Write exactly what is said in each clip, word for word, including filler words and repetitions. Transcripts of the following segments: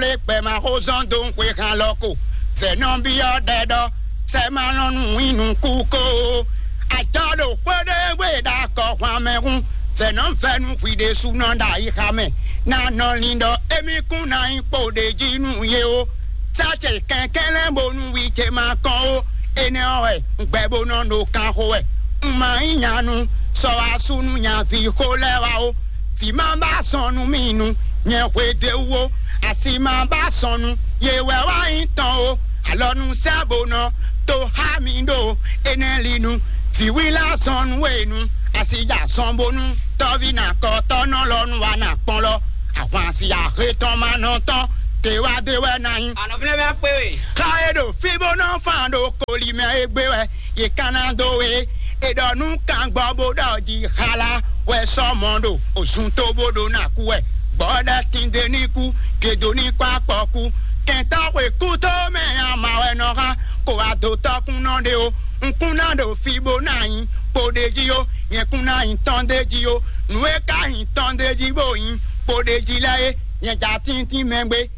lé gbɛ ma xó zɔ́n dó xwe han lɔ ko. Vɛ̌ nɔ byɔ́ ɖɛ ɖɔ sɛ ma lɔn nú wín nukú ko. Ajɔ ɖo xwé ɖé gbe ɖo akɔ hwan mɛ hun. Vɛ̌ nɔ vɛ́ nú hwi ɖésúnɔ ɖo ayixa mɛ. Ná nɔ lin ɖɔ émí kún ná nyí kpo ɖ'é jí nú yě ó. Sá ce kɛnklɛ́n bónú wi ce ma kɔn ó. Énɛ́ ɔ́ wɛ un gbɛ bó nɔ ɖo kan xo wɛ. Un ma nyí nyanu sɔ wá sú nú nyaví xó lɛ́ɛ wá ó. Vǐ ma ba sɔn nú mì nu nyɛ hwe d'é wú ó. Asi ma ba sɔn nu yě wɛ wá nyí tɔn ó. Alɔ nu sɛ bó nɔ to xá mi ɖo énɛ́ li nu. Vǐwí la sɔn nú we nu. Asi ja sɔn bónú tɔ́ví na kɔtɔ́ nɔ lɔ nu wá na kpɔn lɔ. Ahwan si ahe tɔn ma nɔ tɔn te wá dé wɛ ná nyí. Anɔvlɛ́ wɛ kpé we. Xa e ɖo fí bó nɔ fan ɖo koli mɛ e gbé wɛ yě ka ná dó we. E ɖɔ nú kangbɔ bó ɖɔ jí xala wɛ sɔ mɔ ɖo òzun tó bó ɖo ná kú wɛ. Gbɔ́ ɖɛ tinde ní kú, kedo ní kpá kpɔ kú. Kɛntɔ́ xwe kú tó mɛ ama wɛ nɔ xa, kó wá dó tɔ́kún nɔ ɖe ó. Un kún ná ɖo fí bó ná nyí kpo ɖ'é jí ó. Nyɛ kún ná nyí tɔn d'é jí ó. Nǔ e ka nyí tɔn d'é jí bó nyí kpo ɖ'é jí lɛ́ɛ é, nyɛ ja tíntín mɛ gbé.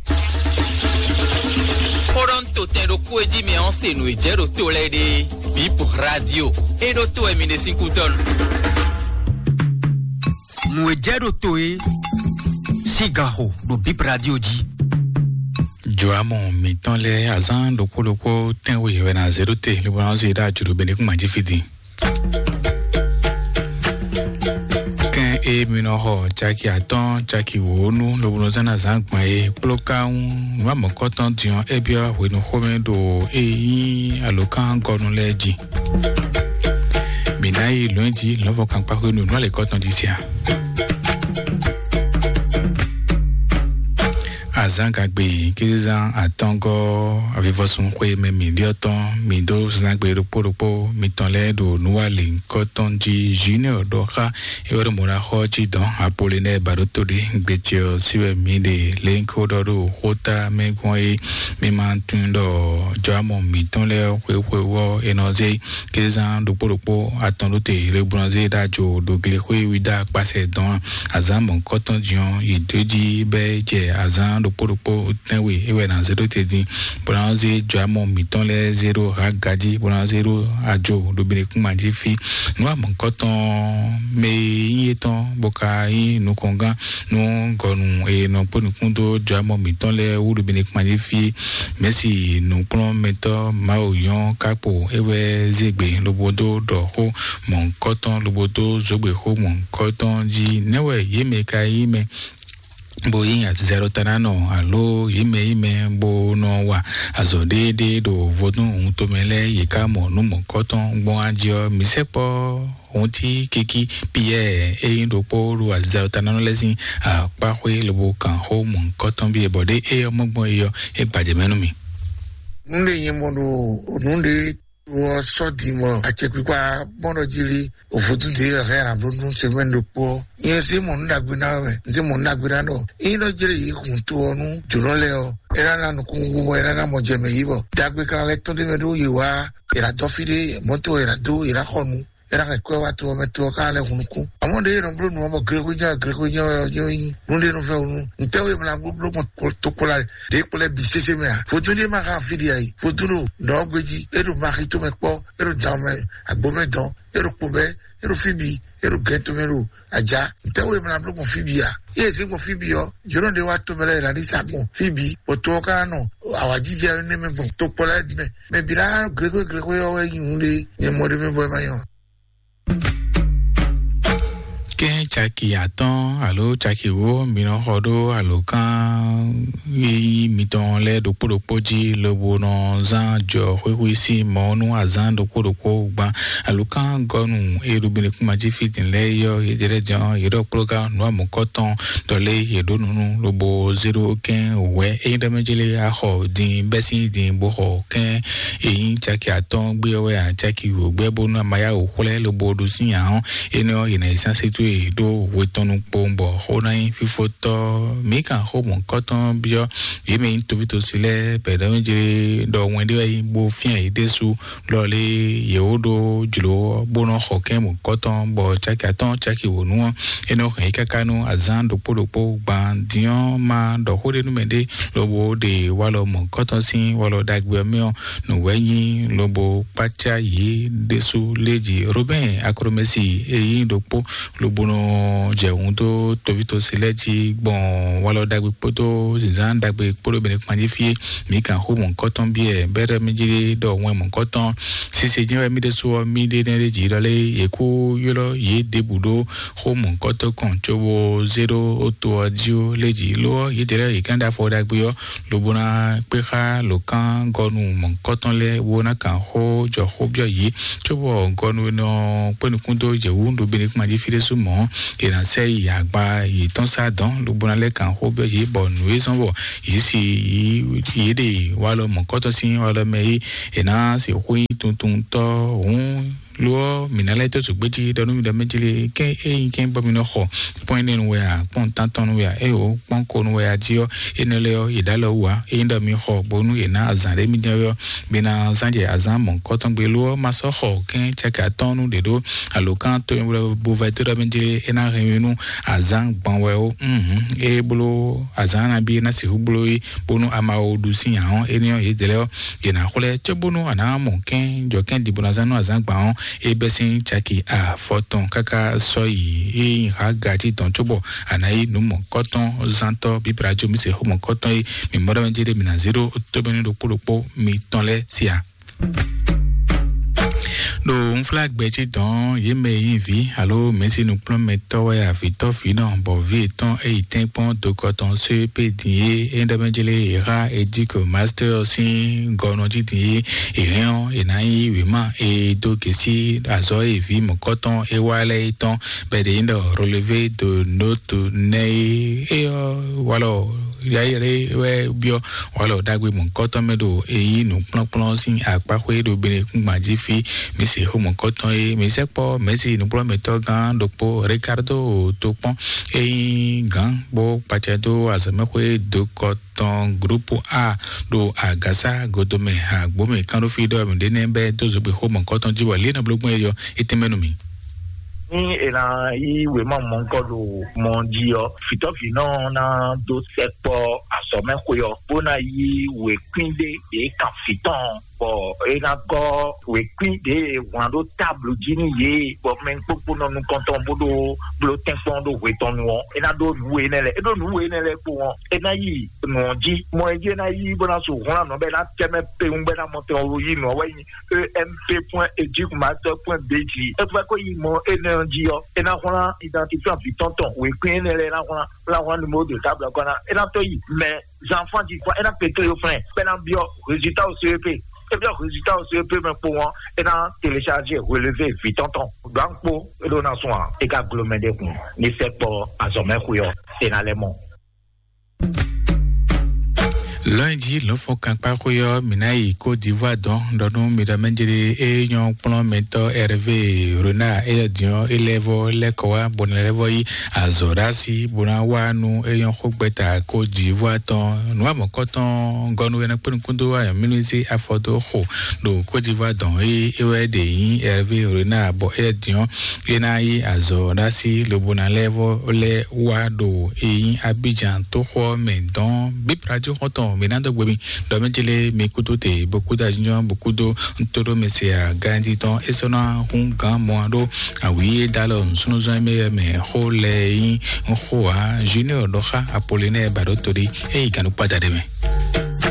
Xó ɖɔ un to tɛn ɖokpó e jí mɛ ɔ́ se nǔ e jɛ ɖo to lɛ́ɛ ɖe. Bip Radio e ɖo to wɛ mi ɖe sín kútɔ́ nu. Nǔ e jɛ ɖo to e sín gan xo ɖo Bip Radio jí. Jɔamɔ mǐtɔn lɛ́ɛ azán ɖokpó ɖokpó tɛ́nwe wɛ ná zé ɖó te, lobo ná zé ɖó ajǔɖó be ní kún mǎ jí fí din. Kɛn e mi nɔ xɔ caki atɔ́ɔ́n caki wǒ nú lobo nɔ zán ná zǎn gbɔn é kpló ká ŋu nǔ amɔ̌kɔ́tɔn din ɔ́, é byɔ́ hwenu xomɛ ɖo e nyí alǒkangɔnu lɛ́ɛ jí. Mǐ ná yi lɔ̌nyijǐ lɔ̌nfɔkankpa hwenu nǔ alěkɔ́tɔn jí sia. Azán gagbe kézezán atɔ́ngɔ́ avivɔsun xwe mɛ mǐ ɖyɔ́ tɔn mǐ dó zán gbe ɖokpó ɖokpó mitɔn lɛ́ɛ ɖo nǔwalǐnkɔ́tɔn jí. Junior ɖɔ xá é wɛ ɖo mɔ̌ ná xɔ jí dɔn Apolinɛ́ɛ ba ɖó tó ɖé gbecɛ ɔ́ sí wɛ mǐ ɖe lě ko ɖɔ ɖo xóta mɛ gbɔn é. Mi ma tunwun ɖɔ jɔamɔ mǐtɔn lɛ́ɛ xwexwe ɔ́ è nɔ zé kézán ɖokpó ɖokpó atɔn ɖó te le gbɔn zé ɖó ajo ɖo glexwé wíɖá kpasɛ dɔn azán mɔ̌kɔtɔn jí ɔ́ yi dó jí bɛ́ jɛ azán ɖokpó ɖokpó tɛ́nwe é wɛ ná zé ɖó te dín bó ná zé jɔamɔ mǐtɔn lɛ́ɛ zé ɖó Haga jí bó ná zé ɖó ajo ɖo Benekúnma jí fí. Nǔ amɔ̌kɔtɔn mɛ e nyí étɔn bó ka nyí nukɔngán nú gɔnu e nɔ kpó nukún dó jɔamɔ mǐtɔn lɛ́ɛ wú ɖo Benekúnma jí fí. Mɛ̌si nǔkplɔ́nmɛtɔ́ Mawu nyɔ́ kákpo é wɛ zé gbe lobo dó ɖɔ xó mɔ̌hunkɔtɔn lobo dó zǒgbe xó mɔ̌hunkɔtɔn jí. Nɛ̌ wɛ yě mɛ ka nyí mɛ bó nyí azizɛɖɔtanánɔ alo yě mɛ nyí mɛ bó nɔ wa azɔ̌ ɖéeɖée ɖo vodún wuntɔmɛ lɛ́ɛ yě ká mɔ nǔ mɔ̌hunkɔtɔn gbɔn ají ɔ́, mǐ sɛkpɔ́ Hunti kiki Piyɛ́ɛ e nyí ɖokpó ɖo azizɛɖɔtanánɔ lɛ́ɛ sín akpáxwé lobo kan xó mɔ̌hunkɔtɔn bíe bɔ ɖé é ɔ́ mɔ gbɔn é ɔ́, é gbajɛ mɛ nú mì. Nǔɖé nyɛ mɔ ɖo nǔɖé to ɔ́ sɔ́ din mɔ acɛkpikpa mɔɖɔ jí lí òvodún ɖě hɛn abló nú semɛ́ni ɖokpó ɔ́. Nyɛ sí mɔ nǔ ɖagbe ná wɛ, sí mɔ nǔ ɖagbe ná ɖɔ. Ényí ɖɔ jlé yě hun to ɔ́ nú jǒnɔ lɛ́ɛ ɔ́, é ná ná nukúnnú bɔ é ná ná mɔ jɛ mɛ yí bɔ ɖagbe kan lɛ́ tɔ́n ɖ'é mɛ ɖó yě wá, è nǎ dɔ́ fí ɖé, mɔ̌to è nǎ dó, è nǎ xɔ nǔ. É ná hɛn kwɛ́ wá to ɔ́ mɛ, to ɔ́ ka lɛ́ hun nukún. Amɔ̌ ɖě e nɔ bló nǔ ɔ́ bɔ glexwé jɛ́n glexwé jɛ́n wɛ ɔ́ jɛ́n nyí nǔɖé nɔ fɛ wǔ nú ntɛ́ wě mla bló gbɔn tokpɔla ɖě kplɔ́ bǐ sésé mɛ a? Vodún ɖé ma xa fí ɖi a yi. Vodún ɖo nɔ̌ ɔ́ gbé jí, é ɖo maxi tomɛ kpɔ́, é ɖo dan mɛ, agbo mɛ dɔn, é ɖo kpo mɛ, é ɖo fí bǐ, é ɖo gɛn tomɛ ɖo ajá. Ntɛ́ wě mla bló gbɔn fí bǐ a? Yě zé gbɔn fí bǐ ɔ́, jǒnɔ ɖé wá tomɛ lɛ́ɛ è nǎ ɖi sa gbɔn fí bǐ, bɔ to ɔ́ ka ná nɔ awǎjijɛ énɛ́ mɛ gbɔn tokpɔla lɛ́ɛ bǐ mɛ. Mɛ bǐ ná glexwé glexwé ɔ́ wɛ nyí nǔɖé nyɛ mɔ ɖé mɛ bɔ é ma nyɔ. Kɛ́n caki atɔ́ɔ́n alo caki wǒ mi nɔ xɔ ɖó alǒkan e nyí mitɔn lɛ́ɛ ɖokpó ɖokpó jí lobo nɔ zán jɔ xwéxwé sín mɔ̌ nú azǎn ɖokpó ɖokpó gban. Alǒkan gɔ́nu e ɖo Benekúnma jí fí din lɛ́ɛ yɔ yě jɛ lɛ́ jɔ́n yě ɖɔ kplɔ́gán nǔ amɔ̌kɔ́tɔn ɖɔ lé yě ɖó nǔ nú lobo zé ɖó kɛ́n wɛ̌ é ɖɔ mɛ jlé axɔ din bɛ́ sín din bó xɔ kɛ́n e nyí caki atɔ́ɔ́n gbé ɔ́ wɛ a caki wǒ gbɛ́ bónú a ma yá wǔ xwlɛ́ lobo ɖo sín ǎ ɔ́, énɛ́ ɔ́, è nǎ yi sán sétú e ɖó hwe tɔn nukpowun bɔ xó ná nyí fífótɔ́. Mǐ kan xó mɔ̌kɔ́tɔn byɔ́ yě mɛ nyí tovítɔ́ tosi lɛ́ɛ bɛ̌ ɖɔ mí jlé ɖɔ wɛn ɖé wɛ nyí bó fyɛ́n yě ɖésú lɔ lé yě wó ɖó jlǒ ɔ́, bó nɔ́ xɔ kɛ́n mɔ̌kɔtɔn, bɔ caki atɔ́ɔ́n caki wǒ nu ɔ́, é nɔ hɛn yě káká nú azǎn ɖokpó ɖokpó. Gban din ɔ́, ma ɖɔ xó ɖé nú mɛɖé, lobo ɖe walɔ mɔ̌kɔtɔn sín walɔ ɖagbe ɔ́ mɛ ɔ́, nǔ wɛ nyí lobo kpácá yě ɖésú lé jí. Robɛ́n Akromɛsi e nyí ɖokpó lobo nɔ jɛ hun dó tovítɔ́ se lɛ́ɛ jí gbɔn walɔ ɖagbe kpódó zǐnzán ɖagbe kpódó bɛnɛ kpan jí fí é. Mǐ kan xó mɔ̌kɔtɔn biɛ bɛ́ ɖɔ mí jí ɖɔ wɛn mɔ̌kɔtɔn sise jɛ́n wɛ mí ɖésú ɔ́ mí ɖe nɛ́ ɖé jǐ ɖɔ lé yě kú ylɔ́ yě ɖěbǔ ɖó xó mɔ̌kɔtɔn kɔn cóbó zé ɖó ó to ɔ́ jí ó lé jǐ. Lo ɔ́, yědɛɛ lɛ́ɛ yě kán ɖó afɔ ɖagbe ɔ́, lobo ná kpé xá lǒkán gɔ́nu mɔ̌kɔtɔn lɛ́ɛ bó ná kan xó jɔ xó byɔ́ yě, cóbɔ gɔ́nu e nɔ kpé nukún dó yě wú ɖo Benekuma jí fí ɖésú mɔ̌, è nǎ sɛ yi agba yětɔn sá dɔ̌n, lobo ná lɛ́ kan xó byɔ́ yě, bɔ nǔ e zɔ́n bɔ yě si yě ɖe walɔ mɔ̌kɔtɔn sín walɔ mɛ é, è nǎ sixú nyí tuntuntɔ́ hǔn. Lo ɔ́, mǐ ná lɛ́ dó zǒgbéjí ɖɔ nú mi ɖɔ mɛ jí lé, kɛ́n é nyí kɛ́n bɔ mi nɔ xɔ kpɔ́n énɛ́ nu wɛ a, kpɔ́n tántɔn nu wɛ a, éyǒ kpɔ́n ko nu wɛ a jí ɔ́, énɛ́ lɛ́ɛ ɔ́, yě ɖó alɔ wú ǎ. Ényí ɖɔ mi xɔ bónú è nǎ azǎn ɖé mì jɛ́n ɔ́, mi ná zán jɛ azǎn mɔ̌kɔtɔn gbe. Lo ɔ́, ma sɔ́ xɔ kɛ́n caki atɔ́ɔ́n nu ɖě ɖó alǒkan to bo vɛ dó ɖɔ mɛ jí lé, é ná hɛn mi nú azǎn gbɔn wɛ ó. Ée bló azǎn nabí é ná sixú bló é, bónú a ma wo ɖu sín ǎ ɔ́, énɛ́ ɔ́, yědɛɛ lɛ́ɛ ɔ́, yě ná xwlɛ́ cóbónú a nǎ mɔ kɛ́n jɔ kɛ́n ɖibɔnazán nú azǎn gban ɔ́, é bɛ́ sín caki afɔtɔn káká sɔ́ yi. É nyí hǎga jí dɔn cóbɔ a nǎ yí nǔ mɔ̌kɔtɔn zántɔ́ bíbla jó mi se xó mɔ̌kɔtɔn é. Mǐ mɔ ɖɔ mɛ jí ɖé mǐ ná zé ɖó tómɛnú ɖokpó ɖokpó mitɔn lɛ́ɛ sí a. Ɖo unflágbɛ jí dɔn yě mɛ e nyí vǐ alo mɛ̌si nukplɔ́nmɛtɔ́ wɛ avǐtɔ́ vǐnɔ bɔ vǐ yětɔn e yi tɛ́nkpɔ́n dokɔ tɔn só pé din é é ɖɔ mɛ jlé yě xá Ediko Master sín gɔnɔ jí din é è hɛn ɔ́ è nǎ nyí wěma e dó gěsí azɔ̌ e vǐ mɔ̌kɔtɔn é wá lɛ́ɛ é tɔn bɔ è ɖe nyí ɖɔ Relevé de Note nɛ́ é. É ɔ́ walɔ yayɛlɛ wɛ byɔ́ walɔ ɖagbe mɔ̌kɔtɔn mɛ ɖo e yí nǔkplɔ́nkplɔ́n sín akpáxwé ɖo Benekúngban jí fí. Mi se xó mɔ̌kɔtɔn e mi sɛkpɔ mɛ̌si nǔkplɔ́nmɛtɔ́ gán ɖokpó Ricardo Tokpɔn e nyí gǎn bó kpacɛ dó azɔ̌mɛxwé dokɔ tɔn groupe A ɖo agǎsá godomɛ agbǒmɛ kánɖófí ɖɔ mǐ ɖe nɛ́ bɛ́ dó zogbe xó mɔ̌kɔtɔn jí bɔ lě e nɔ bló gbɔn é yɔ é tɛ́nmɛ nú mì. Ní è nǎ yí wěma mɔ̌kɔ ɖo mɔ jí ɔ́, vǐtɔ́vǐnɔ ná dó sɛkpɔ́ azɔ̌mɛxwé ɔ́, bó ná yí wěkwín ɖé ɖě kan vǐ tɔn, bɔ é ná gɔ́ wěkwín ɖě e wlán ɖó táblu jí nú yě, bɔ mɛ kpókpó nɔ nukɔntɔn bó ɖó bló tɛ́nkpɔ́n ɖó hwe tɔn nu ɔ́, é ná ɖó nǔ we énɛ́ lɛ́ɛ. É ɖó nǔ we énɛ́ lɛ́ɛ kpowun ɔ́, é ná yi nǔ ɔ́ jí. Mɔ e jí é ná yí bó ná su hwlán nǔ ɔ́ bɔ é ná tɛ́ mɛ pewun bɔ é ná mɔ tɛn ɔ́ yí nǔ ɔ́ wɛ nyí E M P point Edicmaster point B G. É fɛ kó yi mɔ énɛ́ ɔ́ jí ɔ́, é ná hwlán identifiant vǐ tɔn tɔn, wěkwín énɛ́ lɛ́ɛ é ná hwlán, é ná hwlán numéro de table ɔ́ kɔn ná, é ná tó yi. Mais enfants du point, é ná kpétó yo flɛ́n, bɔ é ná byɔ́ résultat au C E P. É byɔ́ résultat au C E P mɛ kpowun ɔ́, é ná télécharger relevé vǐ tɔn tɔn. Ɖó ankpo é ɖó ná sún ǎ, é ka glo mɛ ɖé kun ní sɛkpɔ́ azɔ̌mɛxwé ɔ́, é ná lɛ́ mɔ. Lɔ̌nyijǐ lɔ̌nfɔ́nkankpáxwé ɔ́, mǐ ná yi Côte d'Ivoire dɔn ɖɔ nú mi ɖɔ mɛ jlé é nyɔ́ kplɔ́nmɛtɔ́ Hervé Renard éyɛ́ din ɔ́, é lɛ́ vɔ́ lɛ́ kɔ wá bɔ nɛ́ lɛ́ vɔ́ yí azɔ̌ ɖó así bó ná wá nú é nyɔ́ xógbɛ́ta Côte d'Ivoire tɔn. Nǔ amɔ̌kɔ́tɔn gɔ́nú é ná kpé nukún dó ayɔ̌mínúsí afɔ dó xo ɖo Côte d'Ivoire dɔn é é wɛ ɖe nyí Hervé Renard bɔ éyɛ́ din ɔ́, é ná yí azɔ̌ ɖó así lobo ná lɛ́ vɔ́ lɛ́ wá ɖo e nyí Abidjan tóxó ɔ́ mɛ dɔn. Bíbla jó xɔ́ntɔn mǐ ná dó gbe mi ɖɔ mɛ jlé mi kúdó te bó kúdó ajínjɔ́n bó kúdó ntó ɖó mɛ se a ganjí tɔn é sɔ́ ná hún gǎn mɔ ɖó awǐ é dó alɔ nǔsúnnúzɔ́n mɛ mɛ xó lɛ nyí xó ǎ. Junior ɖɔ xá Apollinaire Baɖótolí é yi gǎn ɖó kpáda ɖé mɛ.